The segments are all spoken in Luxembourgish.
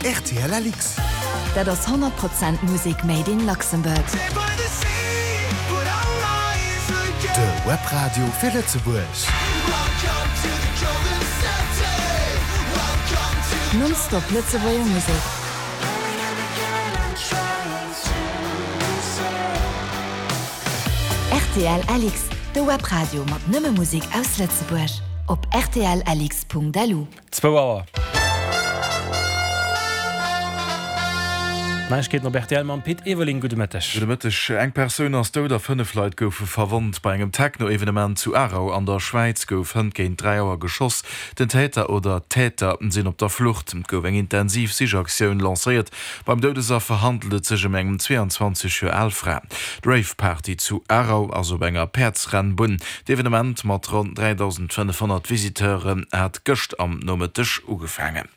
Rtl LX. Dat ass 100 Prozent Musek made in Luxembourg. De Webradio fir Lëtzebuerg. Non-stop Lëtzebuerger Musek. Rtl LX, de Webradio mat nëmme Musek aus Lëtzebuerg. Op rtlx.lu. Zwou Auer. Neiegkeeten op rtl mam Pit Everling. Gudde Mëtteg. Gudde Mëtteg. Eng Persoun ass dout a 5 Leit goufe verwonnt. Bei engem Techno-Evenement zu Aarau an der Schwäiz gouf hënt géint 3 Auer geschoss. Den Täter oder d'Täter sinn op der Flucht. Et gouf eng intensiv Sichaktioun lancéiert. Beim Doudesaffer handelt et sech ëm eng 22 Joer al Fra. D'Rave-Party zu Aarau ass op enger Päerdsrennbunn. D'Evenement mat ronn 3.500 Visiteuren hat gëscht am Nomëtteg ugefaangen.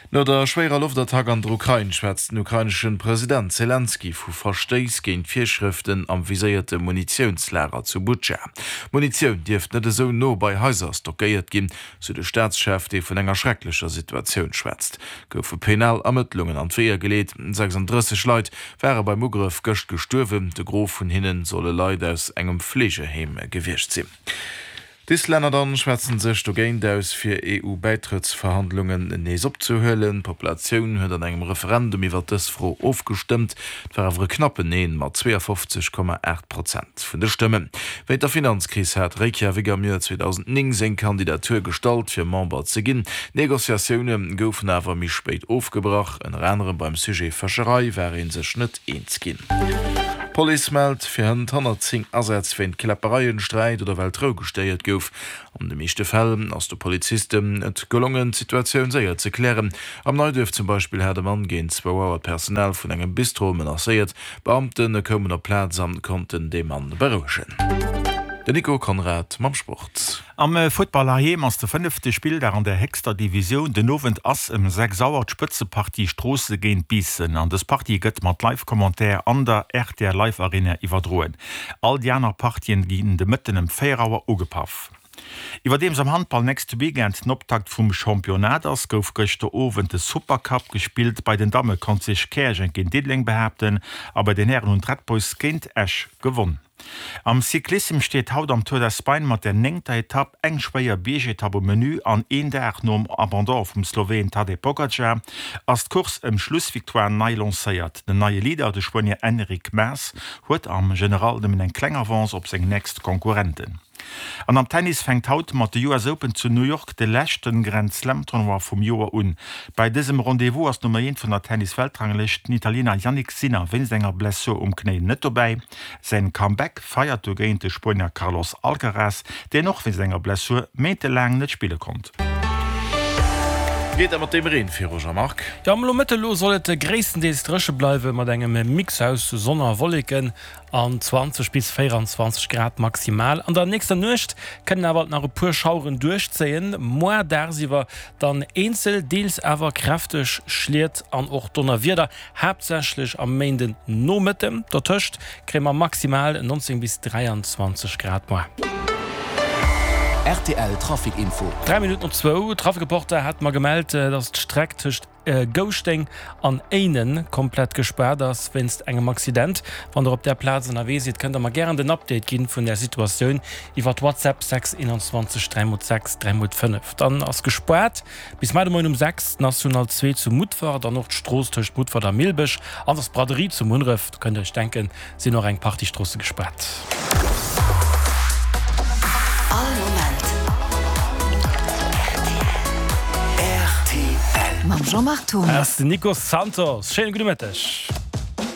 No der schwéierer Loftattack an der Ukrain schwätzt den ukrainesche President Selenskyj vu Verstéiss géint d'Virschrëften am viséierte Munitiounslager zu Butscha. Munitioun dierft net esou no bei Haiser stockéiert ginn, sou de Staatschef, dee vun enger schrecklecher Situatioun schwätzt. Goufe penal Ermëttlungen an d'Weeër geleet. 36 Leit ware beim Ugrëff gëscht gestuerwen, de Gros vun hinne solle Leit aus engem Fleegeheem gewiescht sinn. D'Islänner dann schwätzen sech dogéint aus, fir EU-Bäitrëttsverhandlungen nees opzehuelen. D'Populatioun huet an engem Referendum iwwer dës Fro ofgestëmmt. Et war awer e knappen Neen mat 52,8 Prozent vun de Stëmmen. Wéint der Finanzkris hat Reykjavik am Joer 2009 seng Kandidatur gestallt, fir Member ze ginn. D'Negociatioune goufen awer méi spéit ofgebrach. Ënner anerem beim Sujet Fëscherei war ee sech net eens ginn. D'Police mellt fir hënt 110 Asätz wéint Kläppereien, Sträit oder well d'Rou gestéiert gouf. An de meeschte Fäll ass de Polizisten et gelongen, d'Situatioun séier ze klären. Am Neiduerf zum Beispill hat e Mann géint zwou Auer d'Personal vun engem Bistro menacéiert. D'Beamte koumen op d'Plaz an konnten de Mann berouegen. Den Nico Conrad mam Sport. Am Futtball heiheem ass de fënnefte Spilldag an der héchster Divisioun. Den Owend ass ëm 6 Auer d'Spëtzepartie Stroosse géint Biissen an dës Partie gëtt mat Live-Commentaire an der rtl Live Arena iwwerdroen. All déi aner Partien ginn de Mëtten ëm 4 Auer ugepaff. Iwwerdeems am Handball nächste Weekend den Optakt vum Championnat ass, gouf gëschter Owend de Supercup gespillt. Bei den Damme konnt sech Käerjeng géint Diddeleng behaapten a bei den Hären hunn d'Red Boys géint Esch gewonn. Am Cyclissem steet haut am Tour d'Espagne mat der néngter Etapp eng schwéier Biergetapp um Menü an een Dag nom Abandon vum Sloween Tadej Pogacar ass d'Course ëm d'Schlussvictoire nei lancéiert. Den neie Leader, de Spuenier Enric Mas, huet am General nëmmen eng kleng Avance op seng nächst Konkurrenten. An am Tennis fänkt haut mat de US Open zu New York de leschte Grand Slam Tournoi vum Joer un. Bei dësem Rendez-vous ass d'Nummer Eent vun der Tennis-Weltranglëscht, den Italiener Jannik Sinner, wéinst enger Blessur um Knéi net dobäi. Säin Comeback feiert dogéint de Spuenier Carlos Alcaraz, deen och wéinst enger Blessur méintelaang net spille konnt. Geet dat mat deem Reen viru, Jean-Marc? Jo, am Nomëtte lo soll et gréisstendeels dréche bleiwe mat engem Mix aus Sonn a Wolleken an 20 bis 24 Grad maximal. An der nächster Nuecht kënnen awer alt nach e puer Schaueren duerchzéien, moar dagsiwwer dann eenzel, deels awer kräfteg Schliet an och Donnerwieder. Haaptsächlech am Méinden Nomëtten. Dotëscht kréie mer maximal 19 bis 23 Grad moar. Rtl Trafic Info. 3 Minutten op zwou, Trafic-Reporter hat mer gemellt, dass d'Streck tëscht Gouschteng an Éinen komplett gespaart ass wéinst engem Accident. Wann der op där Plaz ënnerwee sidd, kënnt der mer gären den Update ginn vun där Situatioun iwwert WhatsApp 6 21 3 x 6 3 x 5. Dann ass gespaart. Bis mar de Moien um 6 d'National 2 zu Mutfert an och d'Strooss tëscht Mutfert a Millbech an der Braderie zu Munneref, do kënnt der iech denken, sinn och eng Partie Stroosse gespaart. All Moment rtl. Mam Jean-Marc Thomas. Ass den Nico Santos. Schéine gudde Mëtteg.